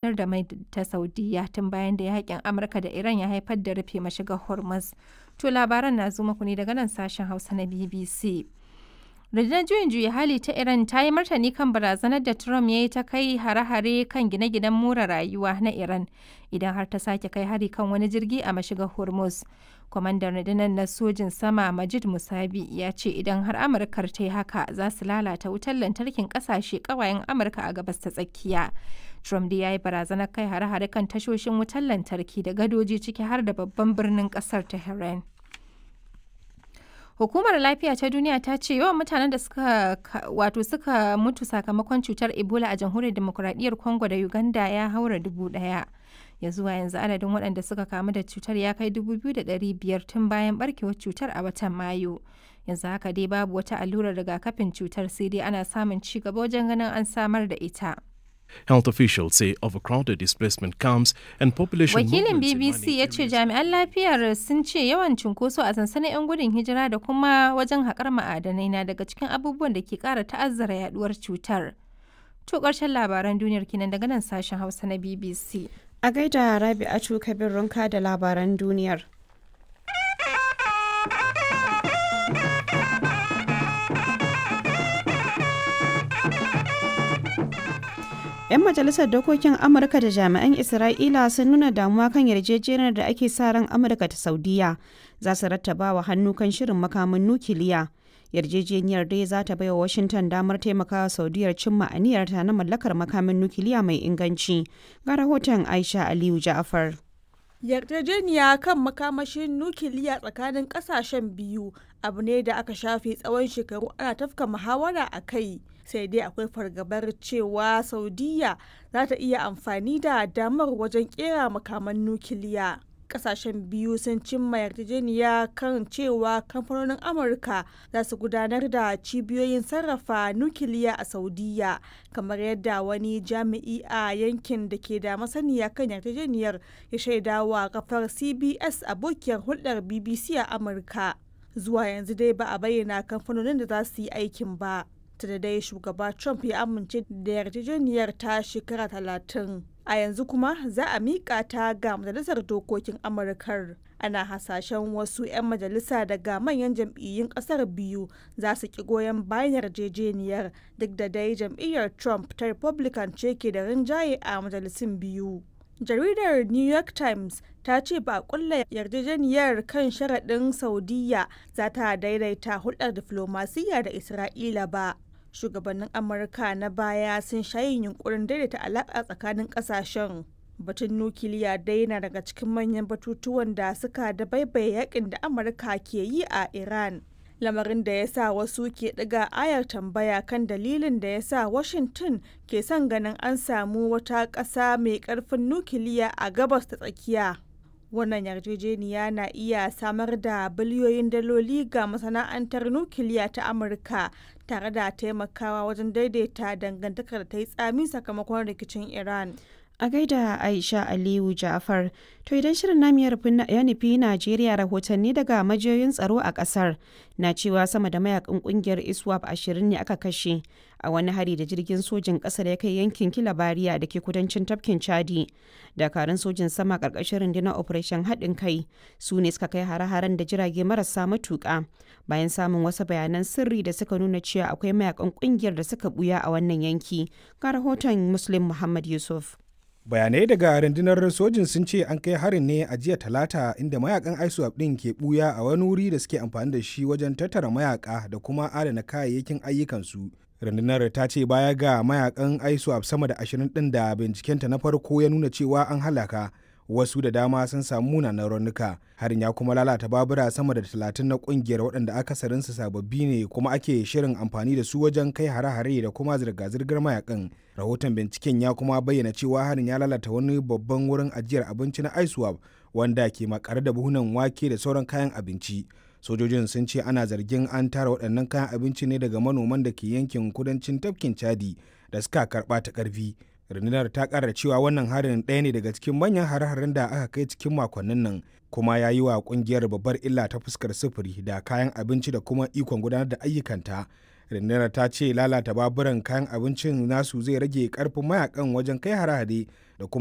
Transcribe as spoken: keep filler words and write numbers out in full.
Fitar da mai ta Saudiyya tun bayan da yakin Amurka da Iran ya haifar da rufe mashigar Hormuz. To labaran na zo muku ne daga nan sashen Hausa na B B C. Rundunar Juyin Juya Hali ta Iran ta yi martani kan barazanar da Trump ya yi ta kai hare-hare kan gine-ginen more rayuwa na Iran idan har ta sake kai hari kan wani jirgi a mashigar Hormuz. Kwamandan rundunar na sojin sama Majid Musabi ya ce idan har Amurkar ta yi haka, za su lalata wutar lantarkin kasashe kawayen Amurka a Gabas ta Tsakiya. Trump dai ya yi barazanar kai hare-hare kan tashoshin wutar lantarki da gadoji, ciki har da babban birnin kasar Tehran. Hukumar Lafiya ta Duniya ta ce yawan mutanen da suka wato suka mutu sakamakon cutar Ebola a Jamhuriyar Demokuraɗiyyar Congo da Uganda ya haura dubu ɗaya. Ya zuwa yanzu adadin waɗanda suka kamu da cutar ya kai dubu biyu da ɗari biyar tun bayan barkewar cutar a watan Mayu. Yanzu haka dai babu wata allurar rigakafin cutar, sai dai ana samun ci gaba wajen ganin an samar da ita. Health officials say overcrowded displacement camps and population Wakilin movements in B B C mining ya ce areas. Jami'an lafiyar sun ce yawan cunkoso a sansanin 'yan gudun hijira da kuma wajen haƙar ma'adanai na daga cikin abubuwan da ke ƙara ta'azzara yaduwar cutar. To ƙarshen labaran duniyar kenan daga nan sashen Hausa na B B C. A gaida Rabi'atu Kabir Runka da labaran duniyar. 'Yan majalisar dokokin Amurka da jami'an Isra'ila sun nuna damuwa kan yarjejeniyar da ake sa ran Amurka ta Saudiya za su rattaba wa hannu kan shirin makamin nukiliya. Yarjejeniyar dai za ta baiwa Washington damar taimakawa Saudiyar cimma aniyarta na mallakar makamin nukiliya mai inganci. Ga rahoton Aisha Aliyu Ja'afar. Yarjejeniya kan makamashin nukiliya tsakanin kasashen biyu abu ne da aka shafe tsawon shekaru ana tafka muhawara a kai, sai dai akwai fargabar cewa Saudiya za ta iya amfani da damar wajen kera makaman nukiliya. Kasashen biyu sun cimma yarjejeniya kan cewa kamfanonin Amurka za su gudanar da cibiyoyin sarrafa nukiliya a Saudiya, kamar yadda wani jami'i a yankin da ke da masaniya kan yarjejeniyar ya shaidawa kafar C B S, abokiyar hulɗar B B C a Amurka. Zuwa yanzu dai ba a bayyana kamfanonin da za su yi aikin ba. Da dai shugaba Trump ya amince da yarjejeniyar ta shekara talatin. A yanzu kuma za a miƙa ta ga Majalisar Dokokin Amurkar. Ana hasashen wasu 'yan majalisa daga manyan jam'iyyun ƙasar biyu za su ki goyon bayan yarjejeniyar, duk da dai jam'iyyar Trump ta Republican ce ke da rinjaye a majalisun biyu. Jaridar New York Times ta ce ba a kulla yarjejeniyar kan sharaɗin Saudiyya za ta daidaita hulɗar diflomasiyya da Isra'ila ba. Shugabannin Amurka na baya sun sha yin yunkurin daidaita alaƙa tsakanin ƙasashen. Batun nukiliya dai na daga cikin manyan batutuwan da suka dabaibaye yakin da Amurka ke yi a Iran, lamarin da ya sa wasu ke ɗiga ayar tambaya kan dalilin da ya sa Washington ke son ganin an samu wata ƙasa mai ƙarfin nukiliya a Gabas ta Tsakiya. Wannan yarjejeniya na iya samar da biliyoyin daloli ga masana'antar nukiliya ta Amurka tare da taimakawa wajen daidaita dangantakar da ta yi tsami sakamakon rikicin Iran. A gaida Aisha Aliyu Ja'far. To idan shirin namu ya nufi Najeriya, rahotanni daga majiyoyin tsaro a kasar na cewa sama da mayakan kungiyar ISWAP ashirin ne aka kashe a wani hari da jirgin sojin kasar ya kai yankin Kilabariya da ke kudancin tafkin Chadi. Dakarun sojin sama karkashin rundunar Operation Haɗin Kai su ne suka kai hare-haren da jirage marasa matuƙa bayan samun wasu bayanan sirri da suka nuna cewa akwai mayakan kungiyar da suka buya a wannan yanki. Ga rahoton Muslim Muhammad Yusuf. Bayanai daga rundunar sojin sun ce an kai harin ne a jiya Talata, inda mayakan ISWAP din ke buya a wani wuri da suke amfani da shi wajen tattara mayaka da kuma adana kayayyakin ayyukansu. Rundunar ta ce baya ga mayakan ISWAP sama da ashirin din da bincikenta na farko ya nuna cewa an halaka, wasu da dama sun samu munanan raunuka. Harin ya kuma lalata babura sama da talatin na kungiyar, waɗanda akasarinsu sababbi ne kuma ake shirin amfani da su wajen kai hare-hare da kuma zirga-zirgar mayakan. Rahoton binciken ya kuma bayyana cewa harin ya lalata wani babban wurin ajiyar abinci na ISWAP wanda ke makare da buhunan wake da sauran kayan abinci. Sojojin sun ce ana zargin an tara waɗannan kayan abinci ne daga manoman da ke yankin kudancin tafkin Chadi da suka karɓa ta ƙarfi. Rundunar ta kara cewa wannan harin ɗaya ne daga cikin manyan hare-haren da aka kai cikin makonnin nan, kuma ya yi wa kungiyar babbar illa ta fuskar sufuri da kayan abinci da kuma ikon gudanar da ayyukanta. Rundunar ta ce lalata baburan kayan abincin nasu zai rage karfin mayakan wajen kai hare-hare da kuma